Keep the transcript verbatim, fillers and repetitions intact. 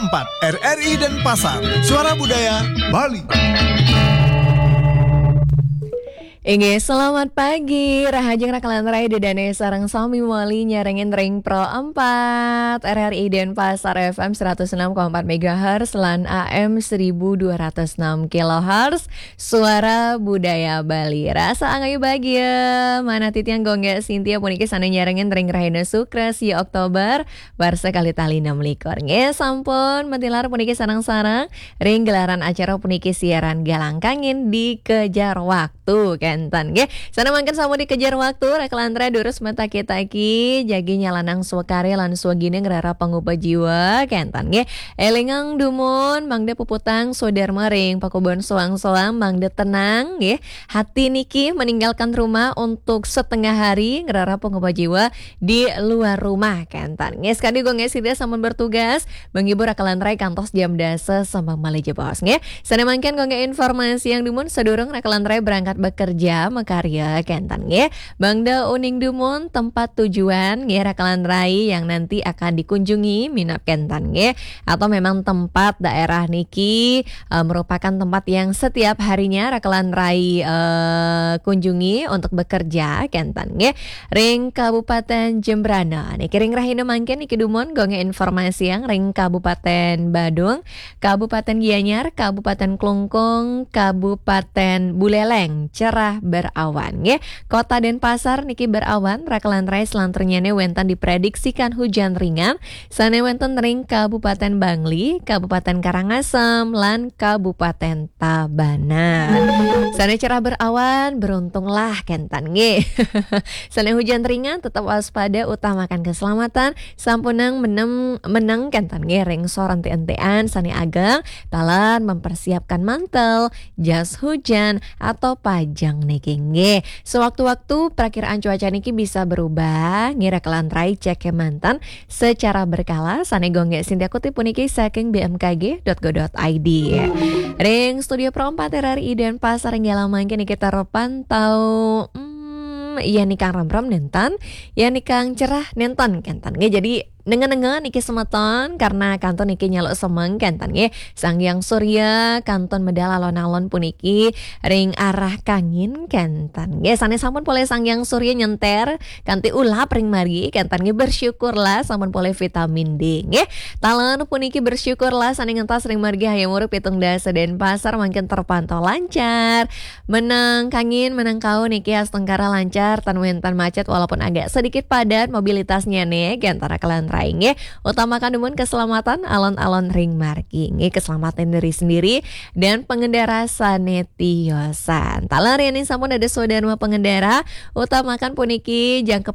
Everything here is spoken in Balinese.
empat R R I Denpasar, Suara Budaya Bali. Inggih, selamat pagi. Rahajeng Rakalan Rai Dedane sareng sami mawali nyarengin ring Pro empat R R I Denpasar F M seratus enam koma empat megahertz lan A M seribu dua ratus enam kilohertz. Suara Budaya Bali. Rasa angayu bagia. Manah titiang Gung Gé Sintia puniki sane nyarengin ring rahina Sukra, sia Oktober, warsa kalih tali enam likur. Nggih, sampun matilar puniki sareng-sareng ring gelaran acara puniki siaran Galang Kangin dikejar waktu kenten nggih. Sane mangkin sampun dikejar waktu, Rakalan Rai durus mataki-taki, jagi nyalanang swakarya lan swagina ngrereh pangupa jiwa kenten nggih. Elingang dumun mangda puputang swadarma ring pakubon soang-soang mangda tenang nggih. Hati niki meninggalkan rumah untuk setengah hari ngrereh pangupa jiwa di luar rumah kenten. Nggih, sekadi Gung Gé Sintia sampun bertugas menghibur Rakalan Rai kantos jam dasa sampun malih jebos nggih. Sane mangkin Gung Gé informasiang dumun sadurung Rakalan Rai berangkat bekerja makarya kenten nggih. Mangda uning dumun tempat tujuan nggih Rakalan Rai yang nanti akan dikunjungi minab kenten nggih. Atau memang tempat daerah niki eh, merupakan tempat yang setiap harinya Rakalan Rai eh, kunjungi untuk bekerja kenten nggih. Ring Kabupaten Jembrana. Niki ring rahina mangkin niki dumun Gung Gé informasiang ring Kabupaten Badung, Kabupaten Gianyar, Kabupaten Klungkung, Kabupaten Buleleng cerah berawan nggih. Kota Denpasar niki berawan, Rakalan Rai selanturnyane wenten diprediksikan hujan ringan sane wenten ring Kabupaten Bangli, Kabupaten Karangasem, lan Kabupaten Tabanan. Sane cerah berawan, beruntunglah kenten nggih. Sane hujan ringan, tetap waspada, utamakan keselamatan, sampunang menem, meneng kenten nggih ring sor enti-entian sane ageng, taler mempersiapkan mantel, jas hujan, atau pajeng niki nggih. Sewaktu-waktu perakiraan cuaca niki bisa berubah, nggih Rakalan Rai cek kemanten secara berkala, sane Gung Gé Sintia kutip puniki saking B M K G dot go dot I D. Ring studio Pro empat R R I Denpasar ring galah mangkin niki terpantau, hmm, yen nikang remrem nenten, yen nikang cerah nenten kenten. Nggih, jadi nenga-nenga niki semeton karena kantun niki nyaluk semeng kenten nggih. Sang Hyang Surya kantun medal alon-alon puniki ring arah kangin kenten. Nggih, sane sampun polih Sang Hyang Surya nyenter kanti ulap ring margi kenten nggih, bersyukurlah sampun polih vitamin D nggih. Taler puniki bersyukurlah sane ngentas ring margi Hayam Wuruk pitung dasa Denpasar mangkin terpantau lancar. Meneng kangin, meneng kau niki astungkara lancar, tan wenten macet walaupun agak sedikit padat mobilitasnya nih, kenten Rakalan Rai nggih. Utamakan dumun keselamatan alon-alon ring margi nggih, keselamatan diri sendiri dan pengendara sane tiosan. Taler yen sampun dados swadarma pengendara, utamakan puniki jangkep